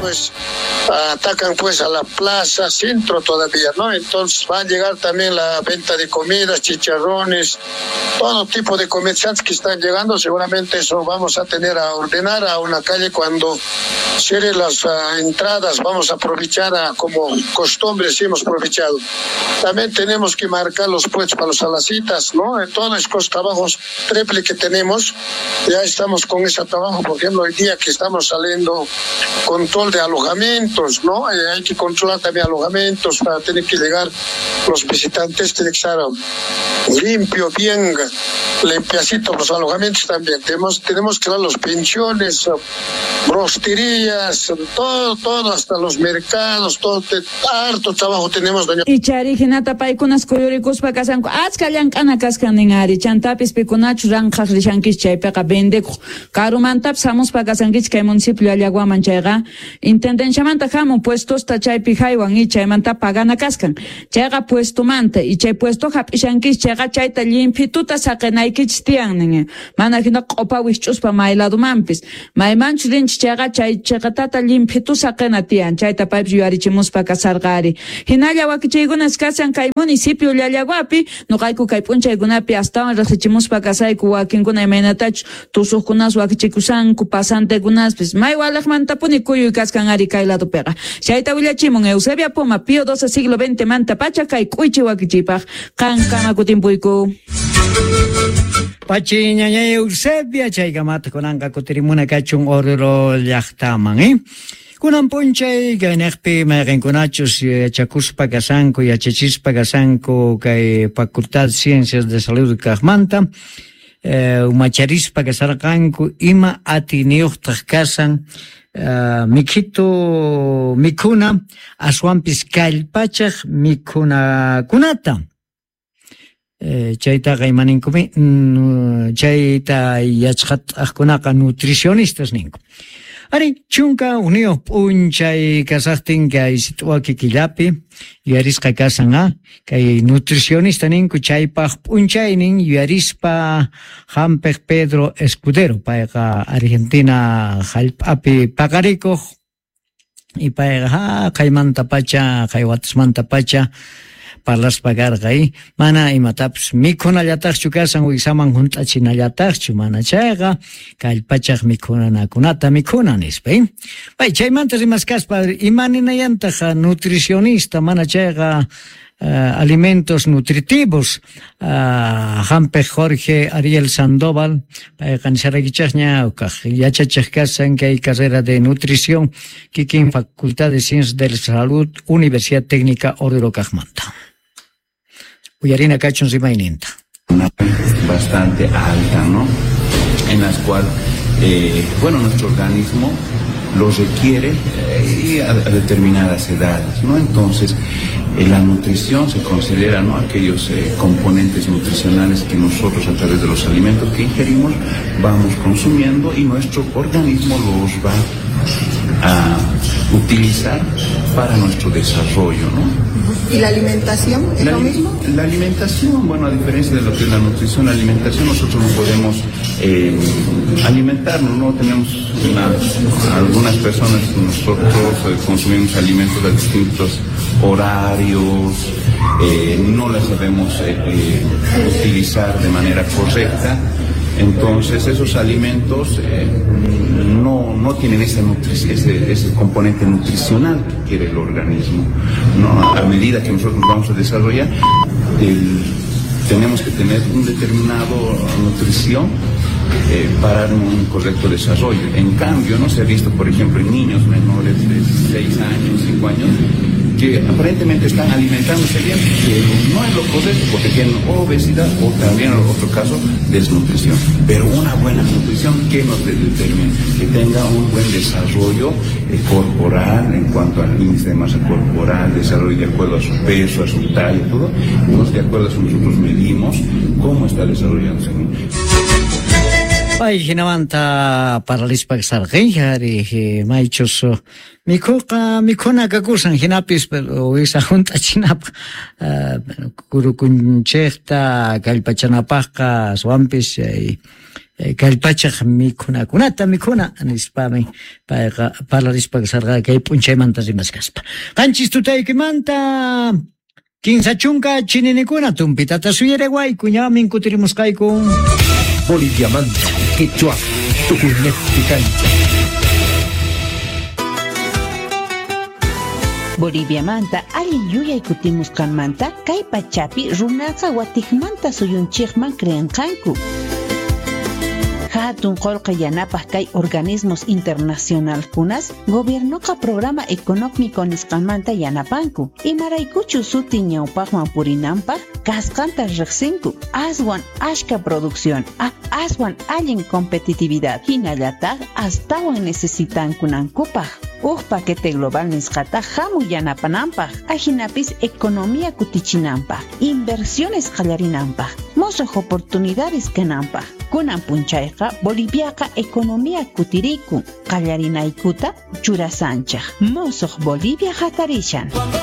pues atacan pues a la plaza centro todavía, ¿no? Entonces va a llegar también la venta de comidas, chicharrones, todo tipo de comerciantes que están llegando. Seguramente eso vamos a tener a ordenar a una calle cuando cierren las entradas. Vamos a aprovechar como costumbre, sí hemos aprovechado. También tenemos que marcar los puestos para los alacitas, ¿no? En todos estos trabajos triple que tenemos, ya estamos con ese trabajo. Por ejemplo, hoy día que estamos saliendo control de alojamientos, ¿no? Hay que controlar también alojamientos para tener que llegar los visitantes, tiene que estar limpio, bien limpiacito los alojamientos también. Tenemos que dar los pensiones, rosterías, todo, hasta los mercados, todo, harto trabajo tenemos, doña. Ichari hinata paykunas kuyurikuspa kashanku achka llank'ana kaskan nin ari chantapis pikunachu ranqhaq rishankichik chaypiqa vendekuq karumantapis hamuspa kashankichik kay municipio Llallaguaman chayqa intendenciamanta hamun puestosta chaypi haywan y chaymanta pagana kaskan chayqa puestomanta y chay puesto hap'ishankichik chayqa chayta llimpituta saqinaykichik tiyan nin mana hina q'upa wikch'uspa mayladumanpis maymanchu rinchik chayqa chay chiqatata llimphitu saqina tiyan chayta paypis yuyarichimuspa kasarqa ari hinalla wakichiykunas kashan kay municipio Llallaguapi nuqayku kay p'unchaykunapi astawan riqsichimuspa kasayku wakinkuna imaynatachus tusuqkunas wakichikusanku pasantekunaspis may waliqmantapuni kuyuy kaskan ari kay ladopiqa chayta willachimun Eusebia Poma Pío XII siglo XX manta pacha kay k'uychi wakichiypaq qankama kutimpuyku. Pachi ñañay Eusebia chaykamata kunanqa kutirimuna kachun Oruro llaqtaman, ¿eh? Kunan p'unchay kayniqpi mayqinkunachus yachakuspa kashanku yachachispa kashanku kay Facultad Ciencias de Salud kaqmanta umacharispa kasharqanku ima atiyniyuqtaq kashan mikhitu mikhuna aswanpis kallpachaq mikhunakunata. Chaytaqa imaninkumi chayta yachqat'aqkunaqa nutricionistas ninku. Ari 11 p'unchay kasaqtin kay sit'waki killapi yuyarisqa kasan kay nutricionista ninku chaypaq p'unchaynin yuyarispa hampiq Pedro Escudero payqa Argentina hallp'api paqarikuq y payqa qaymantapacha qaywatasmantapacha parlaspa karqa mana imatapis mikhunallataqchu kasan wiksaman hunt'achinallataqchu mana chayqa kallpachaq mikhunanakunata mikhuna nispa. Pay chaymanta rimaskaspa imaninayantaq nutricionista mana chayqa alimentos nutritivos hampiq Jorge Ariel Sandoval payqa nisharaykichaqña kaq yachachiq kasan kay carrera de nutrición kikin Facultad de Ciencias de la Salud Universidad Técnica Oruro kaqmanta. Uyarina kachun rimayninta. Bastante alta, ¿no? En las cual, bueno, nuestro organismo lo requiere y a determinadas edades, ¿no? Entonces, la nutrición se considera, ¿no?, aquellos componentes nutricionales que nosotros a través de los alimentos que ingerimos vamos consumiendo y nuestro organismo los va a utilizar para nuestro desarrollo, ¿no? ¿Y la alimentación es lo mismo? La alimentación, bueno, a diferencia de lo que es la nutrición, la alimentación nosotros no podemos alimentarnos, ¿no? Tenemos algunas personas, nosotros consumimos alimentos a distintos horarios, no las sabemos utilizar de manera correcta. Entonces esos alimentos no tienen ese componente nutricional que quiere el organismo, ¿no? A medida que nosotros nos vamos a desarrollar, tenemos que tener un determinado nutrición para un correcto desarrollo. En cambio, no se ha visto, por ejemplo, en niños menores de 6 años, 5 años, que aparentemente están alimentándose bien, pero no es lo correcto porque tienen obesidad o también en otro caso desnutrición. Pero una buena nutrición, ¿qué nos determina? Que tenga un buen desarrollo corporal en cuanto al índice de masa corporal, desarrollo de acuerdo a su peso, a su talla, todo. Entonces, de acuerdo a eso nosotros medimos cómo está desarrollándose. Pay hinamanta paralispa kasarqi ari maychus mikhuqa mikhuna kakusan hinapis wisa hunt'achinapaq kurukunchikta kallpachanapaqqa aswanpis Kallpachaj mikhunakunata mikhuna nispami payqa parlarispa kasharqa kay p'unchaymanta rimashkaspa. 7 tutaykimanta 30 chininikuna tumpitata suyarewayku ñamin kutirimusqayku. Boliviamanta, Quechua, Tukuynejpi kancha. Boliviamanta allin yuyay kutimusqanmanta kay pachapi runaqa watikmanta suyunchikman creenqanku. Hatun qolqe yanapaq kay organismos internacionalkunas gobiernoqa programa económico nisqanmanta yanapanku. Imaraykuchu suti ñawpaqman purinanpaq kasqanta riqsinku. Aswan ashka producción, aswan allin competitividad hinallataq astawan necesitankunankupaq. Uj paquete global nisqata hamu yanapananpaq, ajinapis economía kutichinanpaq, inversiones qallarinanpaq, mosoq oportunidades kananpaq. Kunan punchayqa Boliviaqa economía kutirikun, qallarinaykuta churasanchaq. Mosoq Bolivia hatarishan.